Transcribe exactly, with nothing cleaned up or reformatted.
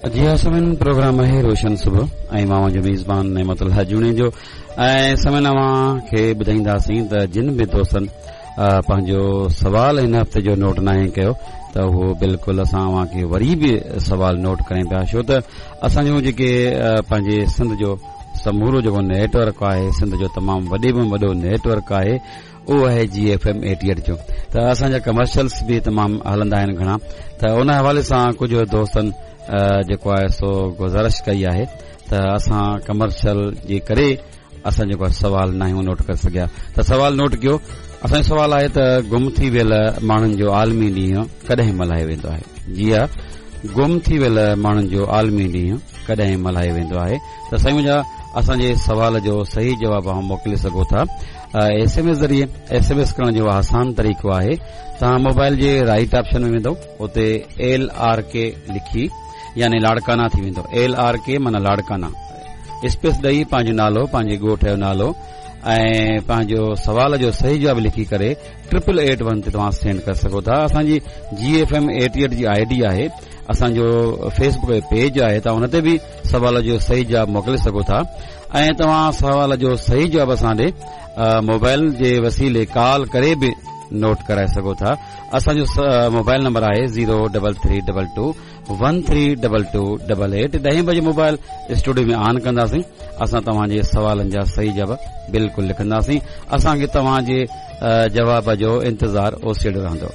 جي ها سامعين، پروگرام آهي روشن صبح ۽ مان اوهان جو ميزبان نعمت الله جوڻيجو. ۽ سامعين، اوهان کي ٻڌائينداسين ته جن به دوستن پنهنجو سوال هن هفتي جو نوٽ ناهي ڪيو ته اهو بلڪل اسان اوهان کي وري به سوال نوٽ ڪرائين پيا، ڇو ته اسان جو جيڪي پنهنجي سنڌ جو سمورو جيڪو نيٽ ورڪ آهي، سنڌ جو تمام وڏي ۾ وڏو نيٽ ورڪ آهي، اهو آهي جي ايف ايم ايٽي ايٽ جو. ته اسان جا ڪمرشلس به تمام هلندا آهن گهڻا، ته ان حوالي سان ڪجهه دوستن جيڪو آهي سو گذارش ڪئي آهي ته اسان ڪمرشل جي ڪري اسان جيڪو آهي سوال ناهيون نوٽ ڪري سگهيا. ته سوال نوٽ ڪيو. اسان جو سوال آهي ته گم ٿي ويل ماڻهن جو عالمي ڏينهن ڪڏهن ملهايو ويندو آهي؟ جي ها، گم ٿي ويل ماڻهن جو عالمي ڏينهن ڪڏهن ملهايو ويندو آهي؟ ته سائين منهنجا، اسان جي سوال جو صحيح جواب اوهان موڪلي سگهو ٿا ايس ايم ايس ذريعي. ايس ايم ايس ڪرڻ جو آسان طريقو آهي، توهان موبائل جي رائٽ آپشن ۾ ويندو، اتي ايل آر ڪي لکي، يعني لاڙڪانا ٿي ويندو، ايل آر ڪي معنيٰ لاڙڪانا، اسپيس ڏئي پنهنجو نالو، پنهنجي ڳوٺ جو نالو ۽ پنهنجو سوال جو صحيح جواب لکي ڪري ٽرپل ايٽ ون تي توهان سينڊ ڪري سگهو ٿا. اسان جي جي ايف ايم ايٽي ايٽ جي I D آهي، اسان جو فيس بڪ پيج آهي، توهان ان تي به سوال جو صحيح جواب موڪلي سگهو ٿا. ۽ توهان سوال جو صحيح جواب اسان ڏي موبائل جي وسيلي ڪال ڪري به نوٽ ڪرائي سگهو ٿا. اسان جو موبائل نمبر آهي zero double three double two one three double two double eight. ڏهين بجي موبائل اسٽوڊيو ۾ آن ڪنداسين، اسان توهان جي سوالن جا صحيح جواب بلڪل لکنداسين. اسان کي توهان جي جواب جو انتظار اوسيڙو رهندو.